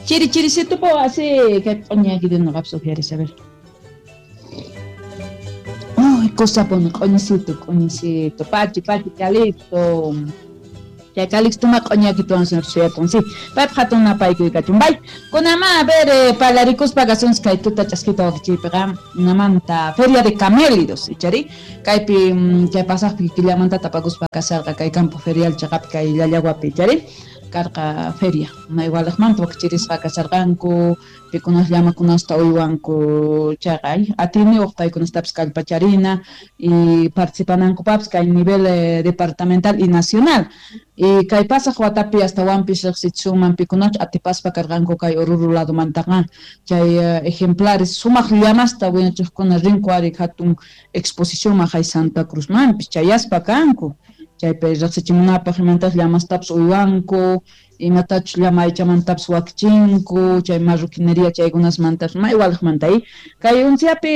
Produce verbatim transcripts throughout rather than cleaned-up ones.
Chiri chirisitupo así kay q'uñakita noqapis uqyaris, a ver. Ay, cosa pone q'uñisito, q'uñisito, pachi, pachi, Calixto. Chay Calixto ma q'uñakituwan suyakun, sí. Paypaq hatun napaykuy kachun. Bay, kunama, a ver, eh, parlarikuspa kasunchis kay tuta ch'askita wakichiypiqa, namanta Feria de Camélidos, ichari? Kaypi, chay pasaqpi killamanta tapakuspa kasarqa kay campo ferial chaqapi kay Llallawapi, ichari? Karqa feria, igualajmanta wakichirisqa kasarqanku, pikunas llamakunasta uywanku chayqa, ay, atiyniwaq paykunastapis kallpacharina y participanankupapis kay nivel eh, departamental y nacional. Y kay pasaq watapi astawanpis riqsichisunman pikunach atipaspa karqanku kay Oruro ladomantaqa chay eh, ejemplares sumaq llamasta wiñachiqkuna rinku ari hatun exposicionman hay Santa Cruzmanpis chayaspa kanku. Chaypi riqsichimunapaq imantas llamastapis uywanku, imatachus llama aychamantapis wakichinku, chay marroquinería chaykunasmantapis may walejmanta y kay unsiapi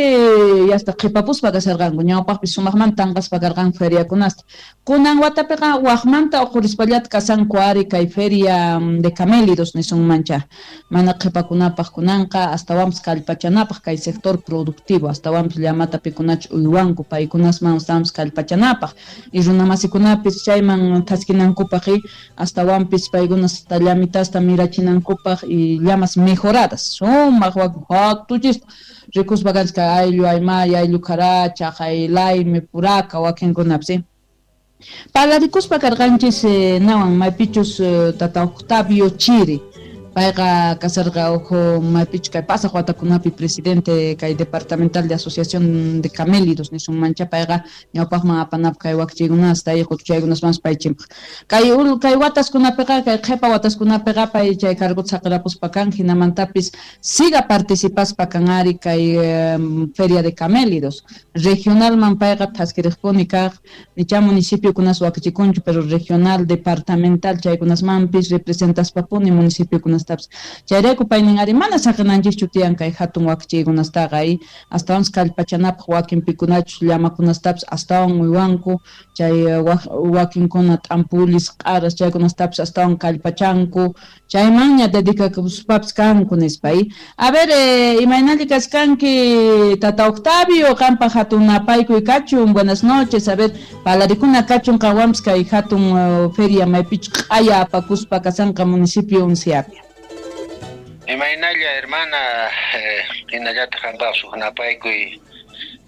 yasta qhipapuspa kasharqanku, ñawpaqpis sumaqmanta tanqaspa karqanku feriakunasta. Kunan watapiqa waqmanta uqhurispallata kasanku ari kay feria de camélidos nisunmancha, mana qhipakunapaq kunanqa astawanpis kallpachanapaq kay sector productivo, astawanpis llamata pikunachus uywanku paykunasman astawanpis kallpachanapaq y runamasikunapis chayman thaskinankupaq y astawanpis paykuna llamitasta mirachinankupaq y llamas mejoradas sumaq wakin hatuchista rikuspa kanchis kay ayllu aymay, ayllu karacha, hay laymi, puraka wakinkunapis. Parlarikuspa karqanchis eh, nawan maypichus eh, tata Octavio Chiri, payqa kasarqa uj maypichus kay pasaq watakunapi presidente kay departamental de asociación de camélidos nisunmancha, payqa ñawpaqman apanapaq kay wakichiykunasta y qutuchaykunasmanpas paychimpaq. Kay kay wataskunapiqa kay qhipa wataskunapiqa pay chay cargota saqirapuspa kan, hinamantapis siga participaspa kan ari kay eh, feria de camélidos regionalman payqa thaskiriqpuni kaq, nicha municipiokunas wakichikunchu, pero regional, departamental chaykunasmanpis representaspapuni municipiokunas. Chayrayku paynin ari mana saqinanchischu tiyan kay hatun wakichiykunastaqa y astawanpis kallpachanapaq wakin pikunachus llamakunastapis astawan uywanku, chay wakinkuna t'ampulis, q'aras chaykunastapis astawan kallpachanku, chaymanña dedicakuspapis kanku nispa. Y a ver, eh, imaynalli kaskanki tata Octavio, qanpaq hatun napaykuy kachun, buenas noches, a ver, parlarikuna kachun qanwanpis kay hatun uh, feria maypichus q'aya apakuspa kasanqa municipio Unciapi. Imaynalla hermana, eh, hinallataq qanpaq huk napaykuy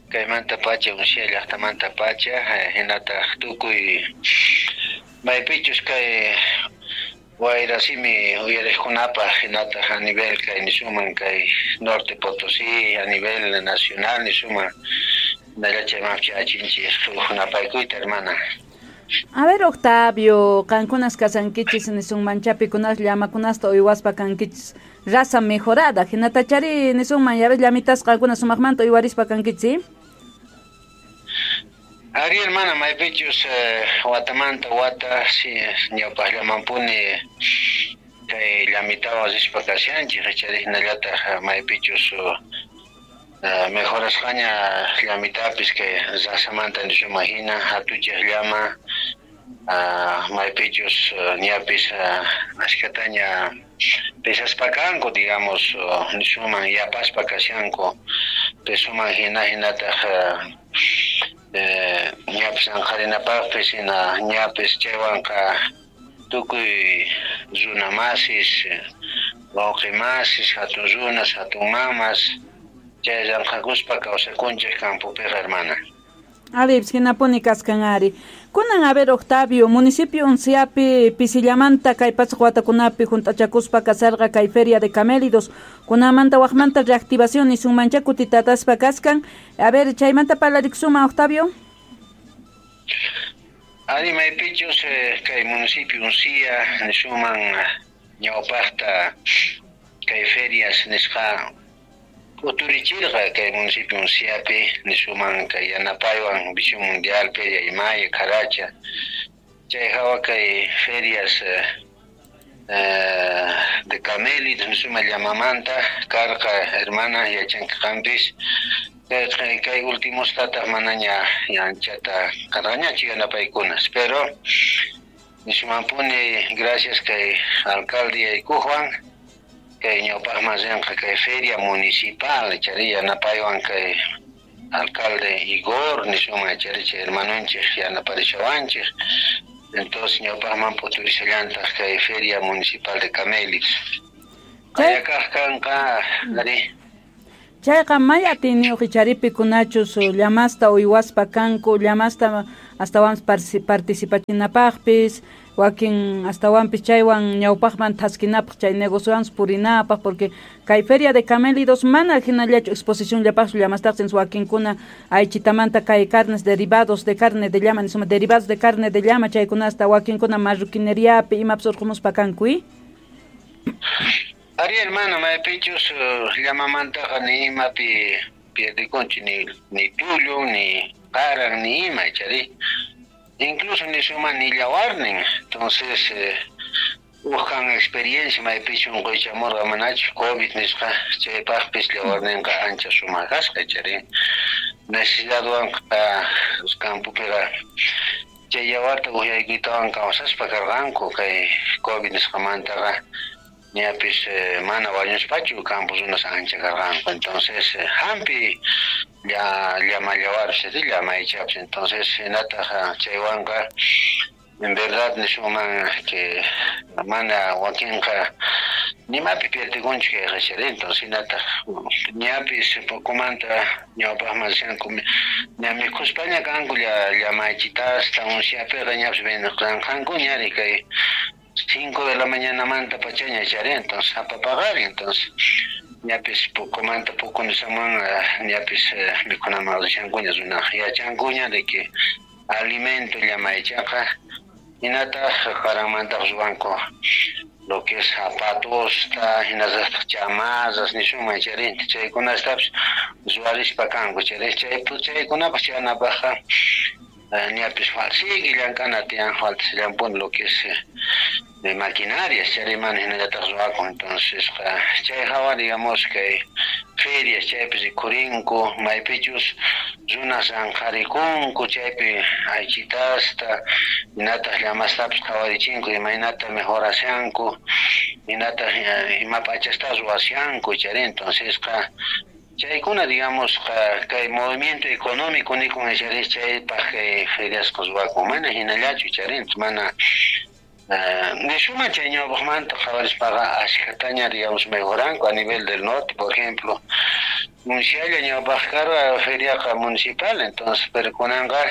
kaymanta pacha Uncia llaqtamanta pacha, eh, hinataq tukuy maypichus kay wayrasimi uyariqkunapaq hinataq a nivel kay nisuman kay Norte Potosí, a nivel nacional nisuman hinalla chaymanpis huk napaykuyta hermana. A ver, Octavio, qankunas kasankichis nisunmancha pikunas llamakunasta uywaspa kankichis raza mejorada, hinatachari nisunman ya ves llamitas qankunas sumaqmanta uywarispa kankichis, ¿sí? Ari hermana, maypichus eh, watamanta wata si ñawpaqllamanpuni kay llamitawan rispa kashanchik, ichari hinallataq maypichus uh, mejorasqaña llamitapis kay razamanta nisuman hina hatuchaq llama, uh, maypichus uh, ñapis uh, ashkataña pesaspa kanku, digamos, uh, nisuman yapaspa kashanku pesuman hina hinataq uh, eh, ñapis anqarinapaqpis hina ñapis chaywanqa tukuy runamasis, wawqimasis, hatun runas, hatun mamas chay llamk'akuspa kawsakunchik campopiqa hermana. Ari, hinapuni kaskan ari. Kunan, a ver, Octavio, municipio Unciapi pisillamanta kay pasaq watakunapi hunt'achakuspa kasarqa kay feria de camélidos, kunamanta waqmanta reactivación nisunmancha kutitataspa kaskan. A ver, chaymanta parlarikusunman, Octavio. Ari maypichus eh, kay municipio Uncia nisuman ñawpaqta kay ferias nisqa uturichirqa kay municipio Unciapi nisuman kay yanapaywan Visión Mundial, Feria Imaya, Caracha, chay hawa kay ferias eh, eh, de camélidos nisuma llamamanta karqa hermana yachanki qampis kay kay últimostataq manaña anchata karqañachu yanapaykunas, pero nisumanpuni gracias kay alcalde yaykuqwan Kay ñawpaqman rinqa kay feria municipal chari yanapaywan kay alcalde Igor nisunman chari chay hermanunchik yanaparishawanchik. Entonces ñawpaqman p'uturishallantaq kay feria municipal de camélidos. Kayakaq kanqa ari. Chayqa may atiyniyuq icharipi kunachus llamasta uywaspa kanku, llamasta astawanpis participachinapaqpis, wakin astawanpis chaywan ñawpaqman thaskinapaq chay negociowanpis purinapaq, porque kay feria de camélidos mana hinallachu exposición llapaqchu llamastaqsin wakinkuna aychitamanta kay carnes derivados de carne de llama, nisuma derivados de carne de llama chaykunasta wakinkuna marroquineriapi imapis urqumuspa kanku. Ari hermano, maypichus llamamantaqa ni imapi pierdikunchu, ni ni tullu, ni qaran, ni ima chari. Incluso ni suma ni llawarnin. Entonces, eh, uqan experiencia maypichu unquychamurqa manachu COVID nisqa chaypaqpis llawarninqa ancha sumaq kasqa chari. Necesidadwanqa campopiqa chay llawarta uqyaykuytawan kawsaspa karqanku kay COVID nisqamantaqa. Ñapis eh, mana wañuspachu campo runas ancha karqanku. Entonces eh, hampi ya llama llawarpis llama aychapis. Entonces hinataq chaywanqa en verdad nisuman que mana wakinqa nimapi pierdikunchu kayqa chari. Entonces hinataq ñapis pocomanta ñawpaqman rishanku ña mikhuspaña kanku llama aychitasta unciapiqa ñapis venqanku ñari kay cinco de la mañana manta pachaña chari. Entonces apapagari. Entonces ñapis pocomanta poco nisaman ñapis mikhunaman rishankuña runa yachankuña de que alimento llama aychaqa hinataq qaranmantaq ruwanku lo que es zapatosta hinallataq chamarras nisuman chari chaykunastapis ruwarispa kanku chari. Chay chaykunapas chanapaqqa ñapis falsigue llank'ana tiyan faltasillanpuni lo que es de maquinarias chari mana hinallataq ruwakun. Entonces chay hawa digamos kay ferias chaypi rikhurinku maypichus runas anqarikunku chaypi aychitasta hinataq llamastapis qhawarichinku imaynata mejorashanku hinataq ima p'achasta ruwashanku chari. Entonces chaykuna digamos kay movimiento económico nikun chari chaypaq kay feriasqa ruwakun mana hinallachu chari. Mana nisuma chay ñawpaqmanta qhawarispaqa ashkhataña digamos mejoranku a nivel del norte. Por ejemplo Uncialla ñawpaq karqa feriaqa municipal. Entonces pero kunanqa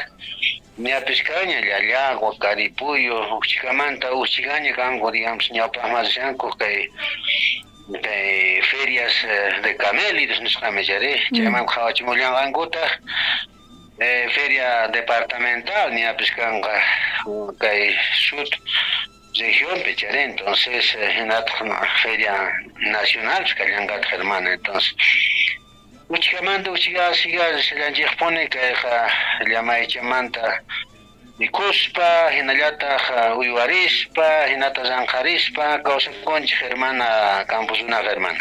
ñapis kaña Llallagua, Caripuyo, Uchicamanta Uchigaña kanku digamos ñawpaqman rishanku kay kay ferias de camélidos nisqami chari. Chayman qhawachimullanqankutaq eh, feria departamental ñapis kanqa kay sud región chari. Entonces hinataq feria nacional kallanqataq hermana. Entonces uchicamanta uchiga siga rishallanchikpuni kayqa llama aychamanta mikhuspa hinallataq uywarispa hinata llanqarispa kawsakunchik hermana Campos runaqa hermana.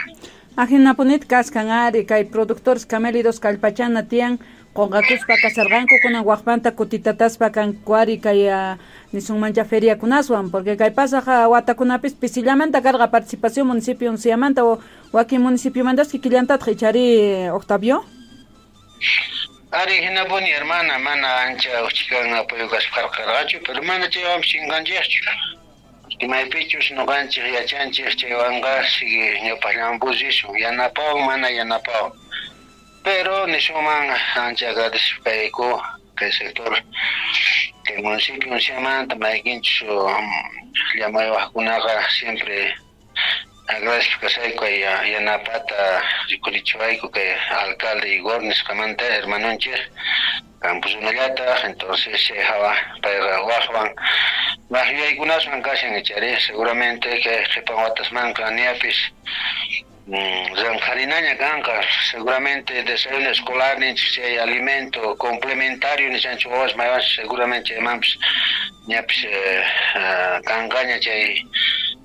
Ajinapunit kaskan ari kay productores camélidos kallpachana tiyan qunqakuspa kasarqanku kunan waqmanta kutitataspa kanku ari kay nisunmancha feriakunaswan, porque kay pasaq watakunapis pisillamanta karqa participación municipio unciamanta o wakin municipiomantapis kikillantataq ichari Octavio. Ari hinapuni hermana mana ancha uchikan apoyo kaspa karqachu, pero mana chaywanpis chinkanchikchu. Maypichus ñuqanchik yachanchik chaywanqa sigue ñawpaqllanpus risun yanapawan mana yanapawan. Pero nisuman ancha agradecido kayku kay sector kay municipio unciamanta maykinchus llamaywaqkunaqa siempre agradezco kasayku yanapata rikurichiwayku kay alcalde Igor nisqamanta hermanunchik Campos runallataq. Entonces chay hawa payqa waqwan waq yuyaykunaswan kashan chari. Seguramente kay qhipan watasmanqa ñapis llanqharinaña kanqa seguramente desayuno escolar ninchik chay alimento complementario nishanchik wawas maywanchik seguramente chaymanpis ñapis kanqaña chay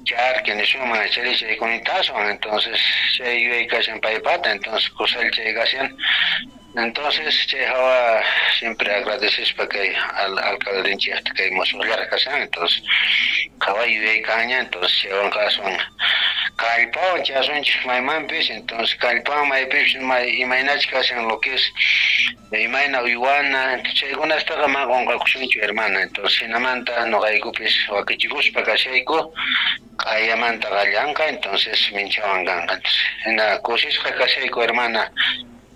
charqui nisuman chari chaykunitaaswan. Entonces chay yuyay kashan paypata. Entonces kusalla chay kashan. Entonces chay hawa siempre agradecespa kay al alcaldenchikta kay musuqllaraq kashan. Entonces hawa yuyay kaña. Entonces chaywanqa aswan Kallpawan chasunchik maymanpis, entonces kallpawan maypis imaynachik kashan lo que es imayna uywana, chaykunastaqa mana qunqakusunchu hermana. Entonces hinamanta nuqaykupis wakichikuspa kashayku q'ayamanta qallanqa, entonces minchawan kanqa. Hina kusisqa kashayku hermana,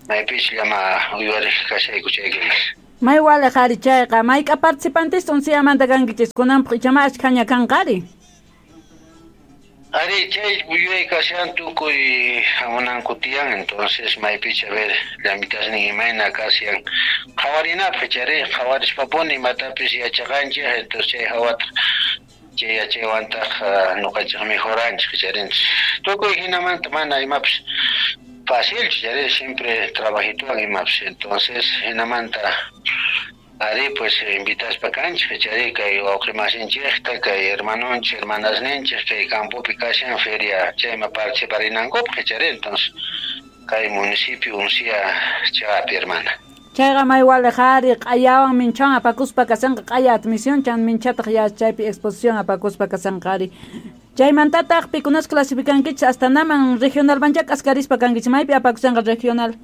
maypis llama uywariq kashayku chaykunas. May waliq ari chayqa, mayk'a participantes unsiyamanta kankichis kunanpaq ichama ashkhaña kanqari? Ari chay yuyay kashan tukuy hamunanku tiyan, entonces maypich a ver llamitasnin imayna kashan qhawarinapaq chari qhawarispapuni imatapis yachaqanchik, entonces chay hawataq chay yachaywantaq nuqanchik mejoranchik charinchik tukuy hinamanta mana imapis fácil chari siempre trabajituan imapis, entonces hinamanta ari pues invitaspa kanchik chari kay wawqimasinchikta kay hermanonchik hermanasninchik kay campopi kashan feria chayma participarinankupaq chari, entonces kay municipio Uncia chaqapi hermana. Chayqa may waliq ari q'ayawan minchawan apakuspa kasanqa q'aya admisión chan minchataq ya chaypi exposición apakuspa kasanqa ari. Chaymantataq pikunas clasificankichis hasta naman regional mancha k'askarispa kankichis maypi apakusanqa regional.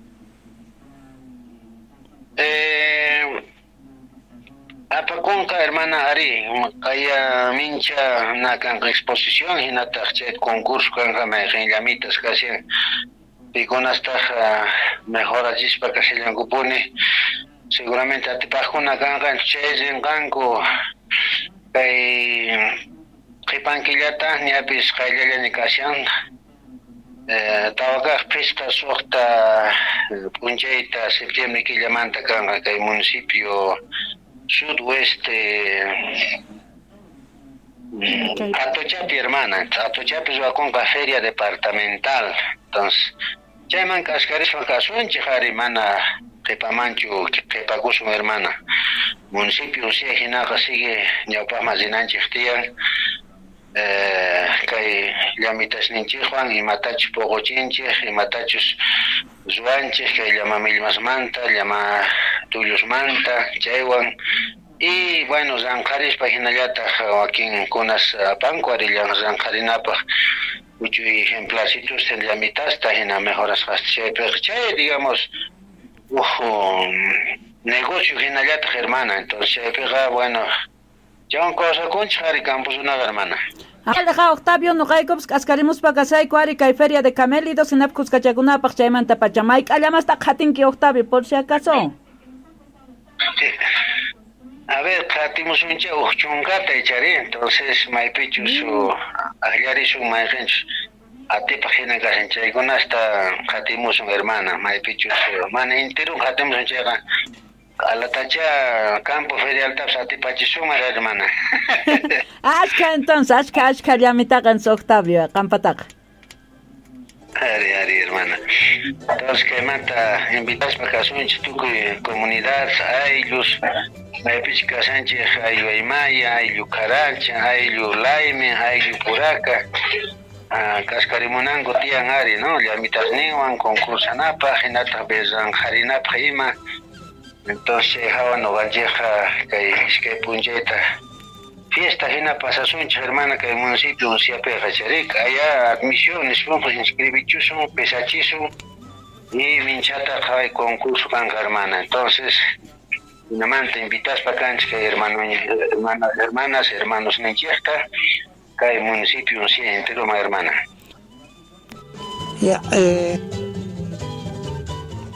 Eh apakunqa hermana ari qaya mincha nakanqa exposición hinataq chay concurso kanqa mayqin llamitas kashan pikunastaq mejorachispa kashallankupuni seguramente atipaqkuna kanqa chay rinqanku kay qhipankillata ñapis qayllallaña kashan tawakaq phisqa suqta p'unchayta septiembre killamanta kanqa kay municipio sudoeste Atochapi hermana, Atochapi ruwakunqa feria departamental, entonces chayman k'askarispa kasunchik ari mana qhipamanchu qhipakusun hermana. Municipio Uncia hinaqa sigue ñawpaqman rinanchik tiyan eh, kay llamitasninchikwan imatachus puquchinchik imatachus ruwanchik kay llama millmasmanta llama tullusmanta chaywan. Y bueno, ranqharispa hinallataq wakinkunas apanku ari ranqharinapaq uchuy ejemplarcitos llamitasta hina mejorasqasta chaypiqa chay digamos uj negocio hinallataq hermana, entonces chaypiqa bueno chaywan kawsakunchik ari camposunaqa hermana. Aleja Octavio nuqaykupis k'askarimuspa kasayku ari kay feria de camélidos hinapaq kuskachakunapaq chaymanta pacha mayk'allamasta qhatinki Octavio por si acaso. A ver, qhatimusunchik uj chunkata ichari, entonces maypichus akllarisun mayqinchus atipaq hina kashan chaykunasta qhatimusun hermana, maypichus mana enterun qhatimusun chayqa q'alatacha campo ferialtapis atipachisunman hermana. Ashkha entonces, ashkha ashkha llamitaqa Octavio qampataqa. Ari, ari, hermana. Entonces, kaymanta invitaspa kasunchik tukuy comunidad, ayllus, maypichik kashanchik ayllu Aymaya, ayllu Caracha, ayllu Laime, ayllu Puraca, kaskarimunanku tiyan ari, no? Llamitasninwan concursanapaq, hinataq berranqharinapaq ima. Entonces, hawa nuqanchikqa kay iskay p'unchayta fiesta hina pasasunchik hermana kay municipio Unciapiqa charik allá admisión nispanqa inscribichusun pesachisun y minchata qhaway concurso kanqa hermana. Entonces hinamanta invitaspa kanchik kay hermano, hermana, hermanas, hermanos ninchikta kay municipio Uncia entero ma hermana. Ya, eh.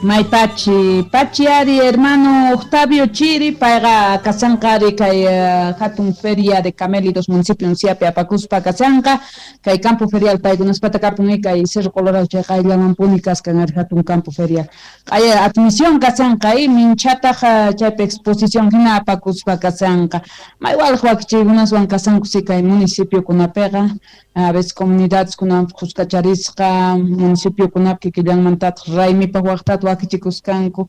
May pachi, pachi ari hermano Octavio Chiri, payqa kasanqa ari kay uh, hatun feria de camélidos municipio Unciapi apakuspa kasanqa, kay campo ferial paykunaspata kapun kay Cerro Colorado chay qayllamanpuni kaskan ari hatun campo ferial. Q'aya admisión kasanqa y minchataq chaypi exposición hina apakuspa kasanqa. May walaq wakichiykunaswan kasanku si kay municipiokunapiqa, a veces comunidades kunanpaq kuskacharisqa, municipiokunapi kikillanmantataq raymipaq waqtata wakichikuskanku.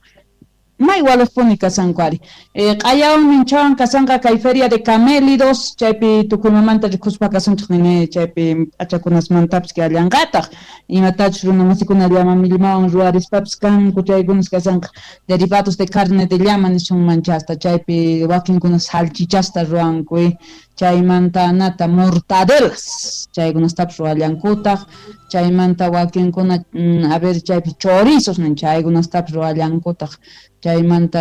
May walaqpuni kasanku ari. Eh, q'ayawan minchawan kasanqa kay feria de camélidos, chaypi tukuymamanta rikuspa kasunchik nini, chaypi p'achakunasmantapis kallanqataq. Imatachus runa masikuna llama millmawan ruwarispapis kanku chaykunas kasanqa derivados de carne de llama nisunman chasta, chaypi wakinkuna salchichasta ruwanku, Chaymanta nata mortadelas chaykunastapis ruwallankutaq. Chaymanta wakinkuna a ver chaypi chorizos nin chaykunastapis ruwallankutaq. Chaymanta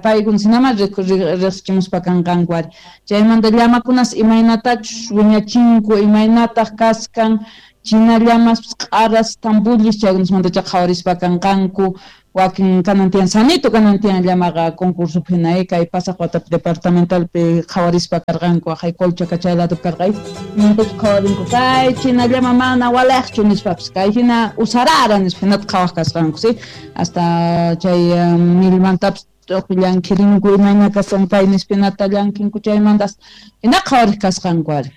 paykuna hinama riqsichimuspa kanqanku ari. Chaymanta llamakunas imaynatachus wiñachinku, imaynataq kaskan china llamas q'aras tambullis chaykunasmantacha qhawarispa kanqanku. Wakin kanan tiyan sanito kanan tiyan llamaqa concurso hina kay pasaq watapi departamentalpi qhawarispa karqanku aqhay Colchaca chay ladopi karqay mantach qhawarinku kay china llama mana walaqchu nispapis kay hina usarara nispa hinata qhawaq kasqanku si hasta chay milmantapis llankirinku imayna kasqan kay nispa hinata llankinku chaymantas hina qhawariq kasqanku ari.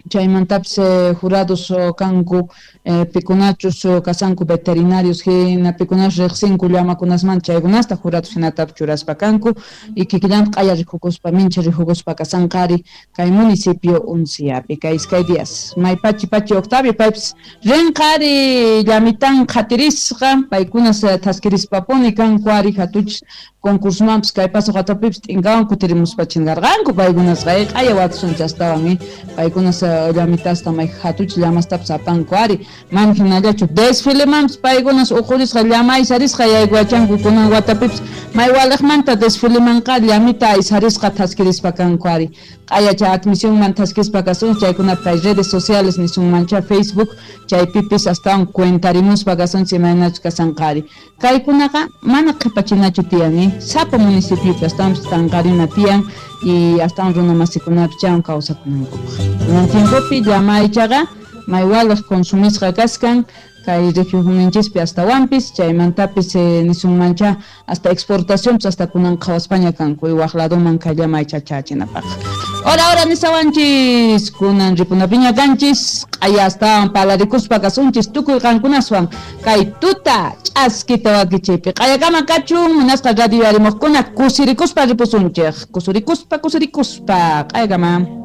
Chaymantapis eh, jurados kanku eh, pikunachus kasanku veterinarios hina pikunas riqsinku llamakunasmanta chaykunasta jurados hinatapis churaspa kanku y kikillanta q'aya rikukuspa mincha rikukuspa kasanqari kay municipio Unciapi kay iskay días may pachi pachi Octavio paypis rinqari llamitan qhatirisqa paykunas thaskirispapuni kanku ari hatuchis concursomanpis kay pasaq watapipis t'inkawan kutirimuspa chinkarqanku paykunasqa q'aya watusunchis astawan paykunas llamitasta may hatuchis llamastapis apanku ari mana hinallachu desfilemanpis paykunas uqurisqa llama aysarisqa yaykuwachanku kunan watapipis may waliqmanta desfilemanqa llamita aysarisqa thaskirispa kanku ari q'ayacha admisionman thaskispa kasunchis chaykunapi kay redes sociales nisunmancha Facebook chaypipis astawan cuentarimuspa kasunchis imaynachus kasanqa ari. Kaykunaqa mana qhipachinachu tiyan sapa municipiopi astawanpis tanqarina tiyan y astawan runa masikunapis chaywan kawsakunankupaq. Kunan tiempopi llama aychaqa may waliq consumisqa kaskan kay regionninchispi astawanpis chaymantapis eh, nisunmancha hasta exportacionpis hasta kunan qhawaspaña kanku waq ladoman kay llama aycha chachinapaq. Ora ora nisawanchis kunan ripunapiña kanchis q'aya astawan palarikuspa kasunchis tukuy qankunaswan kay tuta ch'askita wakichiypi q'ayakama kachun munasqa radio arimuqkuna kusirikuspa ripusunchik kusurikuspa kusurikuspa q'ayakama.